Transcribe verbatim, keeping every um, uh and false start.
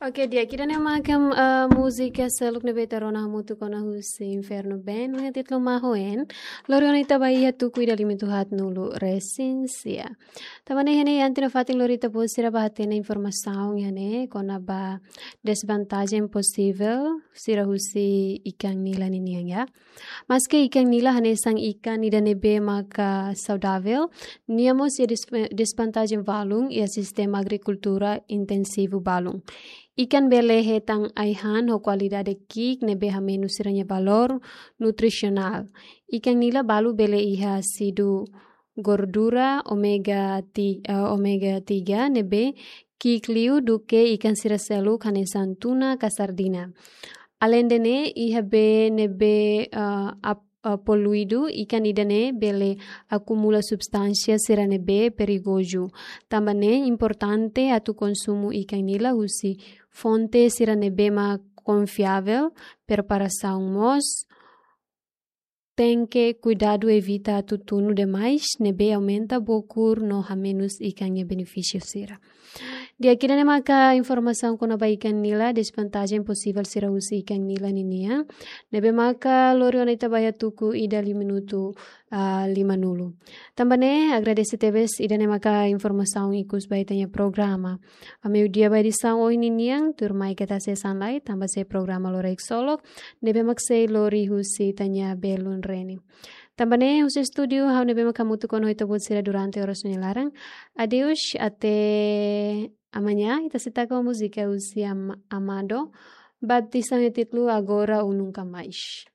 Oke, di'ak, ida-ne'e maka, eh, múzika seluk ne'ebé ita rona hamutuk ona husi Inferno Band, no iha títulu Mahoen. Lori ona ita ba iha tuku ida lima nulu resin sia. Tanba ne'e iha ne'e, antes nafatin lori ita-boot sira ba hatene informasaun iha ne'e kona-ba desvantajen posivel sira husi ikan nila ninian, ya. Maske ikan nila hanesan ikan ida ne'ebé maka saudavel, nia mós iha des-, desvantajen balun iha sistema agrikultura intensivu balun. Ikan bele hetan ai-han ho kualidade ki'ik ne'ebé hamenus sira-nia valór nutrisionál. Ikan nila balu bele iha ásidu gordura omega ti-, eh, omega tiga ne'ebé ki'ik liu duké ikan sira seluk hanesan tuna ka sardina. Alende ne'e, iha bee ne'ebé, eh, ap-, eh, poluidu, ikan ida-ne'e bele akumula substánsia sira ne'ebé perigozu. Tanba ne'e importante atu konsumu ikan nila husi fonte sira ne'ebé mak konfiavel, preparasaun mós tenke kuidadu evita atu tunu demais, ne'ebé aumenta bokur no hamenus ikan nia benefísiu sira. Di'ak, ida-ne'e maka informasaun kona-ba ikan nila, desvantajen posivel sira husi ikan nila ninian, ne'ebé maka lori ona ita ba iha tuku ida lima nulu, ah, lima nulu. Tanba ne'e, agradese tebes, ida-ne'e maka informasaun ikus ba ita-nia programa. Ba meiudia ba edisaun ohin ninian, tuirmai keta hasees an lai, tanba sei programa lorokraik ksolok, ne'ebé mak sei lori husi ita-nia belun Reni. Tanba ne'e, husi estúdiu, ha'u ne'ebé mak hamutuk ona ho ita-boot sira durante oras nia laran. Adeus, até amanhã. Ita sei taka ho múzika husi Am-, Amado. Batizaun iha títulu Agora ou Nunca Mais.